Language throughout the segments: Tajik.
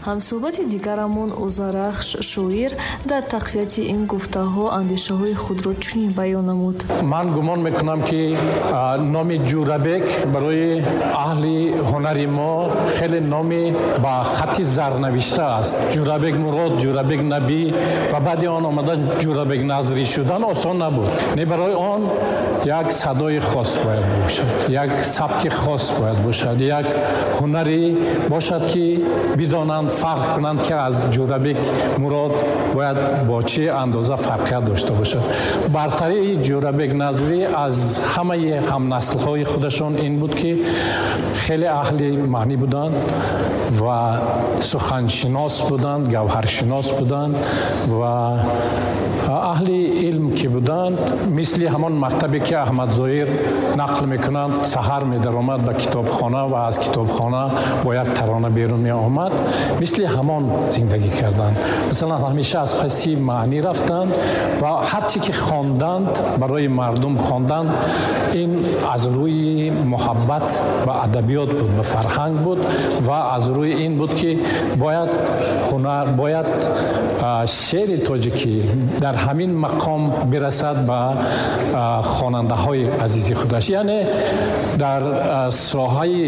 Ҳамсӯҳбати дигарамон Озарахш, шоир, дар тақвияти ин гуфтаҳо андешаҳои худро чунин баён намуд. Ман гумон мекунам, ки номи Ҷӯрабек барои аҳли ҳунари мо хеле номи ба хатти зар навишта аст. Ҷӯрабек Мурод, Ҷӯрабек Набӣ ва баъди он омадан Ҷӯрабек Назрӣ шудан осон набуд. Не, барои он як садои хос бояд бошад, як сабки хос бояд бошад, як ҳунаре бошад, ки бидонанд, фарқ кунанд, ки аз Ҷӯрабек Мурод бояд бо чӣ андоза фарқият дошта бошад. Бартарии Ҷӯрабек Назрӣ аз ҳамаи ҳамнаслҳои худашон ин буд, ки хеле аҳли маънӣ буданд ва суханшинос буданд, гавҳаршинос буданд ва аҳли илм ки буданд, мисли ҳамон мактабе, ки Аҳмад Зоҳир нақл мекунанд, саҳар медаромад ба китобхона ва аз китобхона бо як тарона берун меомад, мисли ҳамон зиндагӣ карданд. Масалан, ҳамеша аз паси маънӣ рафтанд ва ҳар чӣ ки хонданд, барои мардум хонданд. Ин аз рӯи муҳаббат ба адабиёт буд, ба фарҳанг буд ва аз рӯи ин буд, ки бояд ҳунар, бояд шеъри тоҷикӣ дар ҳамин мақом бирасад ба хонандаҳои азизи худаш. Яъне дар соҳаи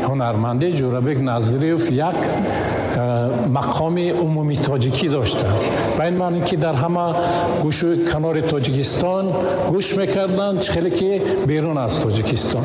ҳунармандӣ Ҷӯрабек Назриев як мақоми умумии тоҷикӣ доштанд, ба ин маъне, ки дар ҳама гӯшу канори Тоҷикистон гӯш мекарданд, хеле ки берун аз Тоҷикистон.